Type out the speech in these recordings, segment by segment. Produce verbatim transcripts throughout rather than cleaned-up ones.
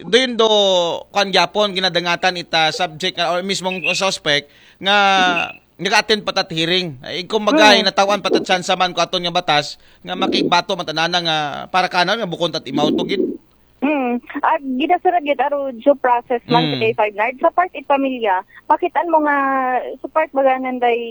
do yun do, kuan gyapon, ginadangatan ita subject nga, or mismong suspect nga nag-attend pa tat hearing. Ay, kumbaga, Mm. natawan pa tat chance man ko aton nga batas nga makigbato man tanana nga para kanan nga bukon tat imaw to gid. Hmm. Ag ginasunod gid aro due process man Mm. sa K five Nard. Sa part it pamilya, pakitaan mo nga sa part baga nanday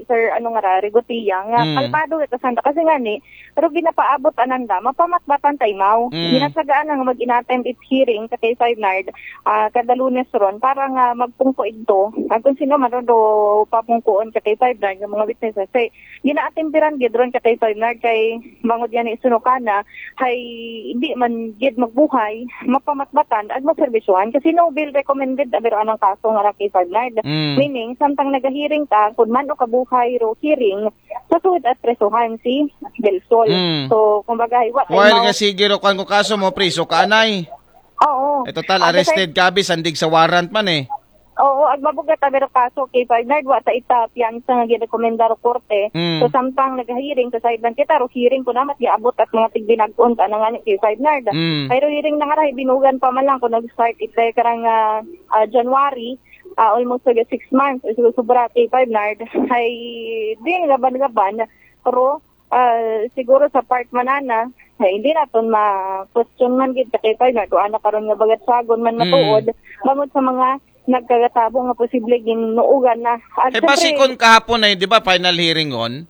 Sir ano nga ra, Rigotia, nga Mm. kalmado ito sanda kasi nga ni, pero ginapaabot ananda, mapamatbatan ta imaw. Mm. Ginasagaan nga mag-inattend it hearing sa K five Nard, ah, kada Lunes ron para nga magpungko igto. Ang kung sino man ron do papungkuon sa K five Nard, yung mga witnesses, say, ginaatimpiran gid ron ka K five Nard kay bangod yan isunukana hay hindi man gid magbuhay, mapamatbatan ag maserbisyuhan kasi no bail recommended abiro anang kaso nga ra K five Nard. Mm. Meaning, samtang nagahiring ta, kun man o kabuhay ro hearing, sa suod at presuhan si Del Sol. Mm. So, kumbaga, wa While imaw- nga sige ro kuan ko kaso mo, priso ka anay. Oo. Eh, total, At the arrested ka, abi, sandig sa warrant man eh. Oo, ag mabugat abiro kaso K five Nard, wa ta ita piyansa nga girekomenda ro korte. Mm. So, samtang nagahiring sa sideline kita, ro hearing ko namat giabot at mga tigbinag-on ta na nga ni K five Nard. Mm. Pero hearing na nga ra, binugan pa man lang kung nag-start ita karang ah, ah, January, ah, almost like six months, so, sobra K five Nard. Ay, din gaban-gaban, pero ah, siguro sa part manana, ay, hindi naton ma-question man gid sa K five Nard, kung ana karon nga bagatsagon man Mm. matuod, bangod sa mga nagkagatabo nga posible ginuugan na. At Eh, basi syempre, kon kahapon ay, di ba, final hearing on?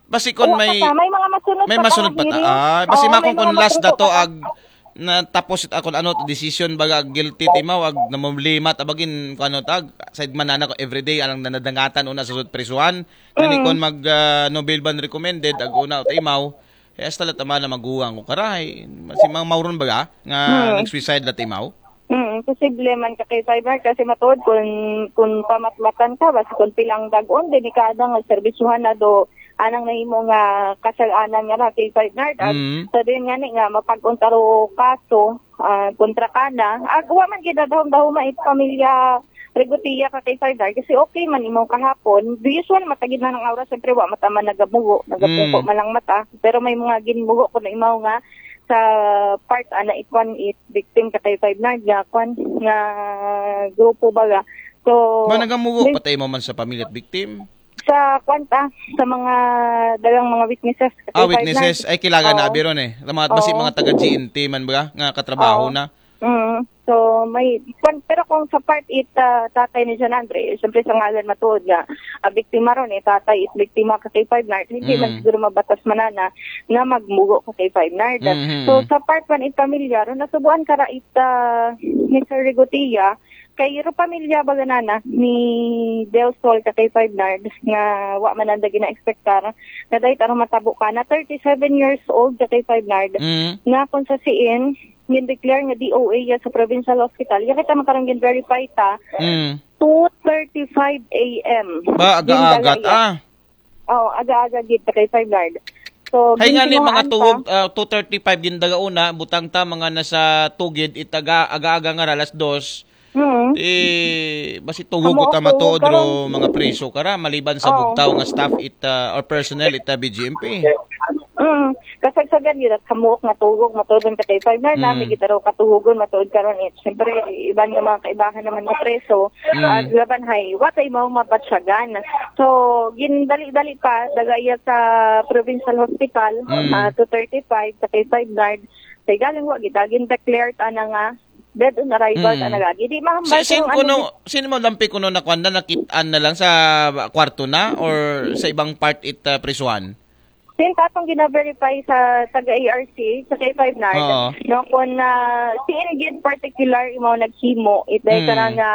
Basi kon oo, may, basta may mga masunod may pa masunod pa ta. kahapon, Ah, basi oo, makon may kon mga last masunod dato pa. ag natapos it akon ano, decision baga guilty timaw ag namumlima ta bagin ko ano tag side man nana ko everyday alang nanadangatan una sa sud prisuhan. Nani Mm. kon mag ah, no bail ban recommended ag una timaw. Eh, hasta la tama na maguwang ko karay. Si mga mauron baga nga Mm. nag-suicide la timaw. Mm, posible man ka K five Nard kasi matuod kun kun pamatmatan ka basta kun pilang dag-on delikada nga serbisyuhan na do anang nahimo nga kasal-anan nga ra K five Nard. At Mm. sa din nga ni nga mapag-untaro kaso ah, kontra kana. Ag wa man gid dahom-dahoma it pamilya Regotia ka K five Nard kasi okay man imaw kahapon. The usual matagid na ng oras, siyempre wa mata man nagamugo, nagapungko Mm. man lang mata. Pero may mga ginmugo ko na imaw nga sa part ana ikwan it victim ka K five Nard nga kwan nga grupo baga. So, Ba nagamugo may- patay mo man sa pamilya at victim? Sa kwan ta, sa mga dalang mga witnesses. Ah, K five witnesses. Nard. Ay, kilala na Oo. abiro eh. Mga, basi Oo. mga taga G N T man ba? Nga katrabaho Oo. na. Mm. So, may, kwan, pero kung sa part it, ah, tatay ni John Andre, siyempre sa ngalan matuod nga, ah, biktima ron eh, tatay it biktima ka K five Nard, hindi man Mm. siguro mabatas manana nga magmugo ka K five Nard. Mhm. So, sa part man it pamilya ron, nasubuan ka ra it, ah, Mister Rigotia, kay ro pamilya baga nana ni Del Sol ka K five Nard nga wa man anda gina-expectar nga dahil tarong matabo ka na thirty-seven years old ka K five Nard Mm. nga kung sa siin gin-declare nga D O A ya sa provincial hospital. Ya kita makarang gin-verify ta Mm. two thirty-five A M. Ba, aga-agat Gin-declare ya. ah. Oo, aga-aga gid ka K five Nard. So, Hay nga ni ginsinuhaan mga ta. Tugog, ah, two thirty-five gindaga una, butang ta mga nasa Tugid, itaga, aga-aga nga ra, alas dos. Mm. Eh, basi Tugog Amo, ko ta matuod Tugog ka ro ron. mga preso kara, maliban sa Oo. bugtaw nga staff it, ah, or personnel it, ah, B G M P. Mm. Kasagsagan gid at hamuok nga Tugog, matuod ka K five Nard, Mm. nami gid raw katuhogon, matuod karon it. Siyempre, iban nga mga kaibahan naman nga preso, Mm. at laban hay, wa tay mao mabatsyagan. So, gindali-dali pa, daga iya sa provincial hospital, Mm. ah, two thirty-five sa K five Nard. Say galing wa gid, gin-declare ta na nga dead on arrival Mm. ta na gagi. Di mahambal Si, sin kung ano kuno, gid- sin mo lampi kuno nakuan na, nakitaan na lang sa kwarto na or sa ibang part it, ah, prisuhan? Sin tatong gina-verify sa taga A R C, sa K five Nard, Oo. no, kung na si Ingrid particular, imaw naghimo, it dahil Mm. ka na nga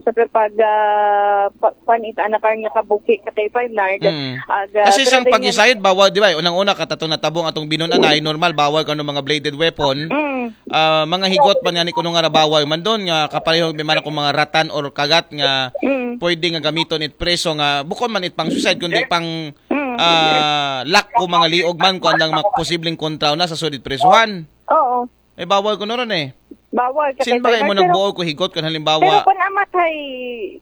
sa pag, ah, pa, pan, it anakar niya kabuki sa K five Nard. Mm. Ag, ah, Kasi pero sang din pag-decide, bawal, di ba? Unang-una, katatong natabong atong binunan ay normal, bawal kano mga bladed weapon. Mm. Ah, mga higot man nga ni kuno nga ra bawal man doon, nga kapareho man ako mga ratan or kagat nga Mm. pwede nga gamiton it preso nga bukon man it pang suicide kundi pang Mm. ah, lak ko mga liog man kung andang mak- posibleng kontra na sa sudit presuhan. Oo. Eh, bawal ko na ron eh. Bawal ka Sin kay ba kayo mo Bernard, pero- nagbuo ko higot kung Pero halimbawa? kung amat ay,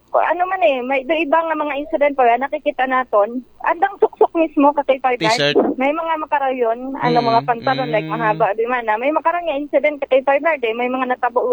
ano man eh, may do iba nga mga incident pag nakikita naton, andang suksok mismo ka K five Nard. T-shirt. May mga makarayon, ano, Mm, mga pantalon, like, mm. Mahaba, di man na. May makaroon nga incident ka K five Nard, eh. May mga natabuon